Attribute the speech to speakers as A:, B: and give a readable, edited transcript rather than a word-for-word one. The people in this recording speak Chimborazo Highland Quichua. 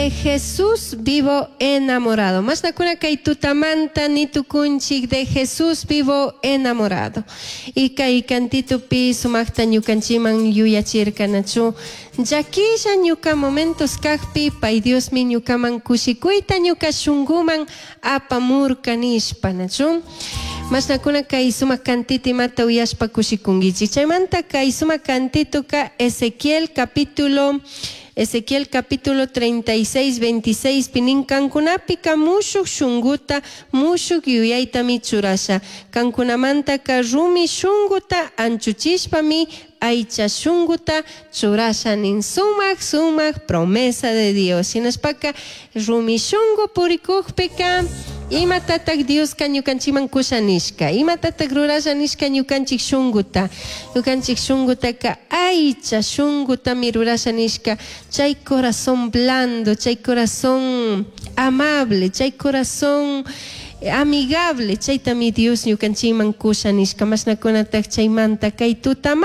A: De Jesús vivo enamorado. Mashnakuna kay tutamanta nitukunchik de Jesús vivo enamorado. Y kay kantitupi sumakta ñukanchiman yuyachirkanachu. Llaquilla ñuka momentos kakpi pay Diosmi ñukaman kushikuyta ñuka shunguman apamurka nishpa nachu. Mashnakuna kay sumak kantito imata uyashpa kushikunkichik. Chaymanta kay sumak kantituka Ezequiel capítulo 36, 26 pi nin kankunapika mushuk shunguta mushuk yuyaytami churasha. Kankunamantaka rumi shunguta anchuchishpami aycha shunguta churasha nin sumak sumak promesa de Dios. Shinashpaka rumi shungu purikukpika imatatak Dioska ñukanchikman kusha nishka, imatatak rurasha nishka ñukanchik shunguta, ñukanchik shungutaka aycha shungutami rurasha nishka, chay corazón blando, chay corazón amable, chay corazón amigable, chaytami Dios ñukanchikman kusha nishka. Mashnakunatak chaymanta kay tutamanta.